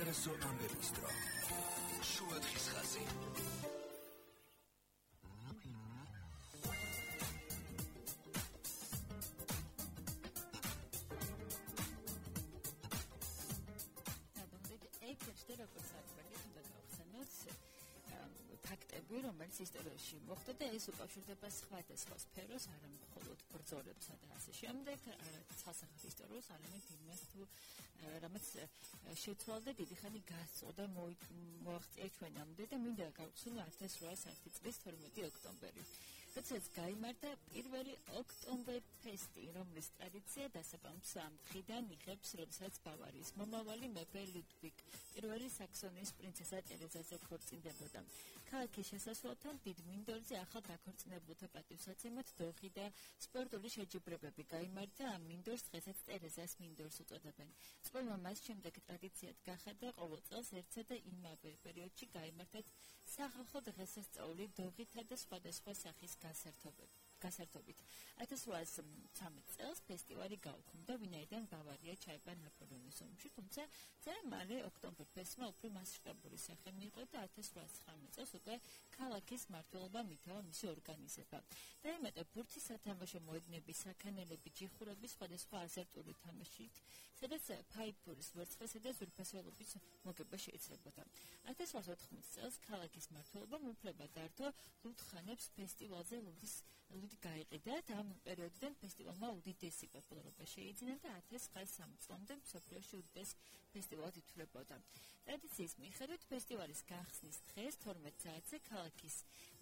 საინტერესო ამბების დრო. შუადღის ხაზი. ეკეთდა როგორც არის და გავხსენოთ ფაქტები, რომელიც ისტორიაში მოხდა და ეს უკავშირდება სხვადასხვა სფეროს, არა მხოლოდ ბრძოლებსა და ასე შემდეგ, ცალსახად ისტორიულს, არამედ იმას თუ რამაც შეცვალა დიდი ხანი გასწო და მოაღწია ჩვენამდე და მინდა გავხსენო 1801 წლის 12 ოქტომბერი. როდესაც გაიმართა პირველი ოქტომბერფესტი, რომლის ტრადიცია დასაბამს ამ დღიდან იღებს, როდესაც ბავარიის მომავალი მეფე ლუდვიგ პირველი საქსონიის პრინცესა ტერეზაზე ქორწინდებოდა. ქალაქის შესასვლელთან დიდ მინდორზე ახალ დაქორწინებულთა პატივსაცემად დოღი და სპორტული შეჯიბრებები გაიმართა. ამ მინდორს დღესაც ტერეზას მინდორს უწოდებენ. წყვილმა მას შემდეგ ტრადიციად გახადა ყოველ წელს ერთსა და იმავე პერიოდში გაიმართათ სახალხო დღესასწაული დოღითა და სხვადასხვა სახის გასართობით. 1813 წელს ფესტივალი გაუქმდა, ვინაიდან ბავარია ჩაება ნაპოლეონის ომში, თუმცა ძალიან მალე ოქტომბერფესტმა უფრო მასშტაბური სახე მიიღო და 1819 წელს უკვე ქალაქის მმართველობამ ითავა მისი ორგანიზება. დაემატა ბურთის სათამაშო მოედნები, საქანელები, ჯიხურები სხვადასხვა აზარტული თამაშით, სადაც ფაიფურის, ვერცხლისა და ზურგფასველობის მოგება შეიძლებოდა. 1814 წელს ქალაქის მმართველობამ უფლება დართო ლუდხანებს ფესტივალზე ლუდი გაიყიდა და ამ პერიოდიდან ფესტივალმა უდიდესი პოპულარობა შეიძინა და 1903 წლამდე მსოფლიოში უდიდეს ფესტივალად ითვლებოდა. ტრადიციის მიხედვით ფესტივალის გახსნის დღეს 12 საათზე ქალაქის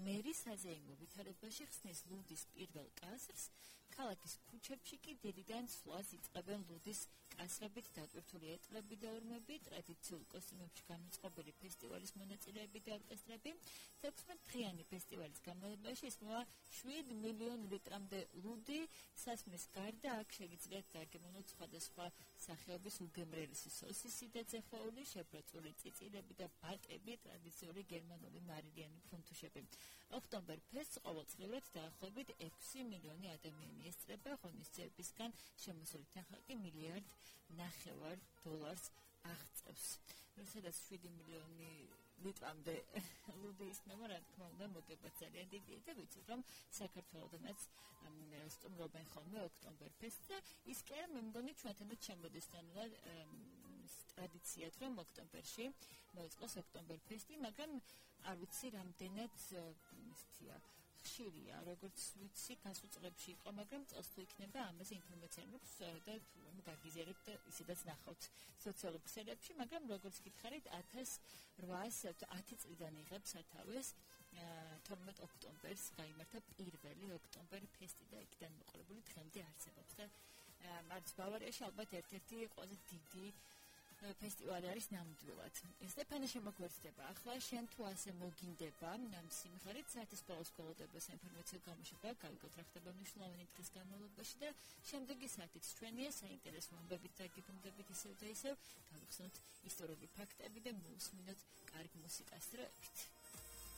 მერი საზეიმო ვითარებაში ხსნის ლუდის პირველ კასრს, ქალაქის ქუჩებში კი დილიდან სვლას იწყებენ ლუდის კასრებით დატვირთული ეტლები და ორმები, ტრადიციულ კოსტიუმებში გამოწყობილი ფესტივალის მონაწილეები და ორკესტრები. 16 დღიანი ფესტივალის განმავლობაში ისმევა 7 მილიონი ლიტრამდე ლუდი. სასმის გარდა აქ შეგიძლიათ დაგემოვნოთ სხვადასხვა სახეობის უგემრიელესი სოსისი და ძეხაული, შებრაწული წიწილები და ბატები, ტრადიციული გერმანული მარილიანი ფუნთუშები. ოქტომბერფესტს ყოველწლიურად დაახლოებით 6 მილიონი ადამიანი ესწრება, ღონისძიებისგან შემოსული თანხმობა $1.5 მილიარდ აღწევს. სადაც 7 მილიონი ლიტრამდე ლუდი ისმევა, რა თქმა უნდა, მოგება ძალიან დიდია და ვიცით, რომ საქართველოდანაც სტუმრობენ ხოლმე ოქტომბერფესტს და ის კი არა, მე მგონი ჩვენთანაც შემოდის ტრადიციად, რომ ოქტომბერში მოეწყოს ოქტომბერფესტი, მაგრამ არ ვიცი რამდენად ხშირია, როგორც ვიცი, გასულ წლებში იყო, მაგრამ წელს თუ იქნება ამაზე ინფორმაცია მაქვს და გაგიზიარებთ და ისედაც ნახავთ სოციალურ ქსელებში, მაგრამ როგორც გითხარით, 1810 წლიდან იღებს სათავეს 12 ოქტომბერს გაიმართა პირველი ოქტომბერფესტი და იქიდან მოყოლებული დღემდე არსებობს და არც ბავარიაში ალბათ ერთ-ერთი ყველაზე დიდი ფესტივალი არის ნამდვილად. სტეფანე შემოგვერთდება. ახლა შენ თუ ასე მოგინდება ამ სიმღერით საათის ბოლოს გველოდება საინფორმაციო გამოშვება, გავიგოთ რა ხდება მნიშვნელოვანი დღის განმავლობაში და შემდეგი საათიც ჩვენია საინტერესო ამბებით და გიფრინდებით ისევ და ისევ. გავიხსენოთ ისტორიული ფაქტები და მოусმინოთ კარგ მუსიკას დროებით.